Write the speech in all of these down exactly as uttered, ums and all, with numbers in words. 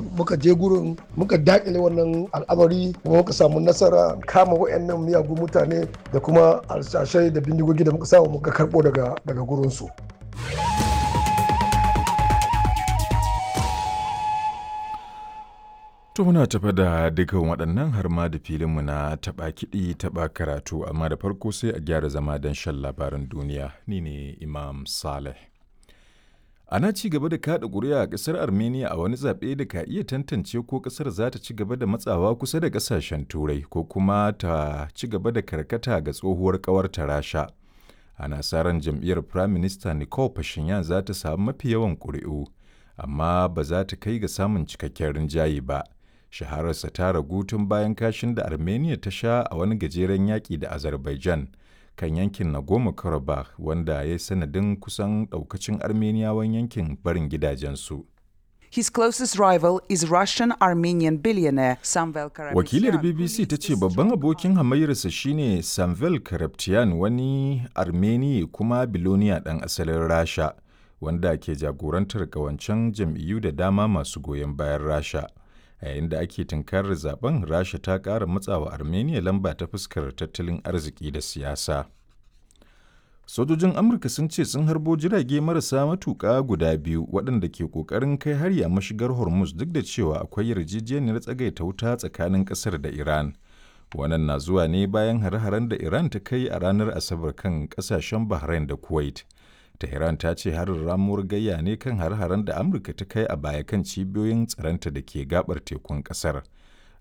Muka je gurin, muka dakile wannan al'amari, kuma muka samu nasara kama wayannan miyagun mutane da kuma alsashai da bindigogi da muka samu muka karbo daga daga gurinsu. To muna tafa da dukkan waɗannan har ma da filinmu na taɓa kiɗi taɓa karatu, amma da farko sai a gyara zama don shan labaran duniya. Ni ne Imam Saleh. Ana ci gaba da kaɗa ƙuri'a a ƙasar Armenia a wani zaɓe da ka iya tantance ko ƙasar za ta ci gaba da matsawa kusa da ƙasashen Turai ko kuma ta ci gaba da karkata ga tsohuwar ƙawarta Rasha. Ana sa ran jam'iyyar Prime Minister Nikol Pashinyan za ta samu mafi yawan ƙuri'u, amma ba za ta kai ga samun cikakken rinjaye ba. Shahararsa ta ragu tun bayan kashin da Armenia ta sha a wani gajeren yaƙi da Azerbaijan kan yankin Nagorno-Karabakh, wanda ya yi sanadin kusan ɗaukacin Armeniyawan yankin barin gidajensu. His closest rival is Russian-Armenian billionaire Samvel Karapetyan. Wakilar B B C ta ce babban abokin hamayyarsa shine Samvel Karapetyan, wani Armeni kuma biloniya ɗan asalin Rasha, wanda ke jagorantar ƙawancen jam'iyyu da dama masu goyon bayan Rasha. A yayin da ake tunkarar zaben, Rasha ta ƙara matsawa Armenia lamba ta fuskar tattalin arziki da siyasa. Sojojin Amurka sun ce sun harbo jirage marasa matuƙa guda biyu waɗanda ke ƙoƙarin kai hari a mashigar Hormuz, duk da cewa akwai yarjejeniyar tsagaita wuta tsakanin ƙasar da Iran. Wannan na zuwa ne bayan hare-haren da Iran ta kai a ranar Asabar kan ƙasashen Bahrain da Kuwait. Tehran ta ce harin ramuwar gayya ne kan har-haren da Amurka ta kai a baya kan cibiyoyin tsaronta da ke gabar tekun kasar.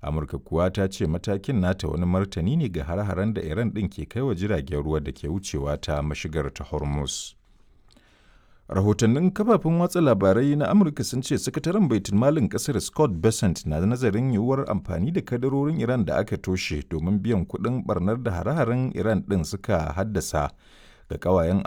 Amurka kuwa ta ce matakin nata wani martani ne ga har-haren da Iran ɗin ke kai wa jiragen ruwa da ke wucewa ta mashigar ta Hormuz. Rahotannin kafafen watsa labarai na Amurka sun ce sakataren baitulmalin kasar Scott Bessent na nazarin yiwuwar amfani da kadarorin Iran da aka toshe domin biyan kuɗin barnar da hare-haren Iran ɗin suka haddasa ga ƙawayen